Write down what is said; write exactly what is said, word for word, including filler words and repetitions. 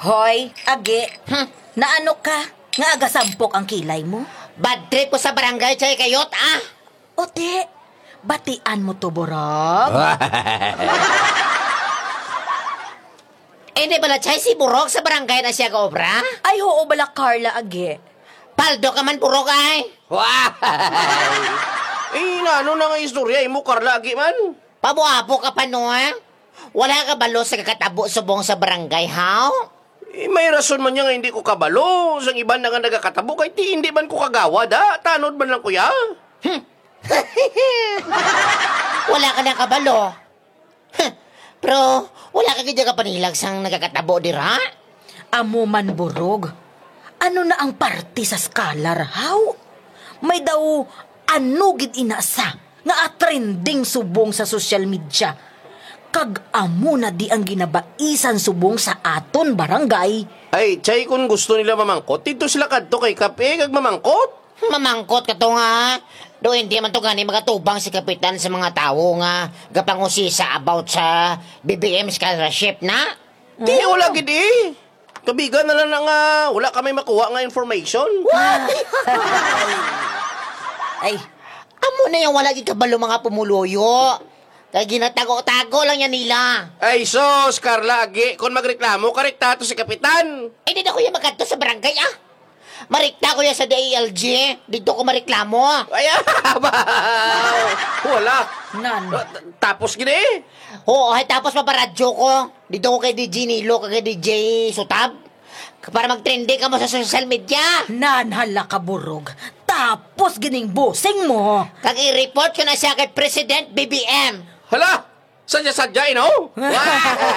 Hoy, Agi, Hmm? naano ka nga agasampok ang kilay mo? Bad trip ko sa barangay, Chay Kayot, ah! O di, batian mo to, Borog? Eh, di bala, Chay, si Borog sa barangay na siya gaobra? Ay, oo bala, Carla, Agi. Paldo ka man, Borog, ay! Eh, naano na nga istorya imo, Carla, Agi man? Pabuabo ka pa, no, ha? Wala ka balo sa kakatabo subong sa barangay, haw? Eh, may rason man niya nga hindi ko kabalo sang iban na nga nagakatabo, kay ti hindi man ko kagawad, ha? Tanod man lang, kuya. Hmm. Wala ka na kabalo. Huh. Pero wala ka gid ka panilag sang nagakatabo dira? Amo man, Borog. Ano na ang parte sa scholar, haw? May daw ano gid ina sa nga trending subong sa social media. Kag amo na di ang ginabaisan subong sa aton barangay. Ay, Chay, kung gusto nila mamangkot, dito sila kadto kay Kape kag mamangkot. Mamangkot ka to nga, ha? Do hindi man to gani magatubang si Kapitan sa mga tawo nga gapangusisa about sa B B M scholarship na. Di, wala gid eh. Kabiga na lang na nga wala kami makuha nga information. Ay, amo na yung wala gid kabalo mga pumuluyo. Kay ginatago-tago lang yan nila. Ay, sus, Carla, Agi, kung magreklamo, karekta to si Kapitan. Eh, di na ko yung magkadto sa barangay, ah. Marikta ko yan sa D A L G. Dito ko mareklamo. Ay, abaw! Wala. Nan. Ah, t-, tapos gini? Oo, ay tapos paparadyo ko. Dito ko kay D J Nilo, kay D J Sutab. Para magtrending ka mo sa social media. Nan, hala ka, Borog. Tapos gining busing mo. Kag i-report ko na siya kay President B B M. Hala! Sadya-sadya, eh, no? Wow!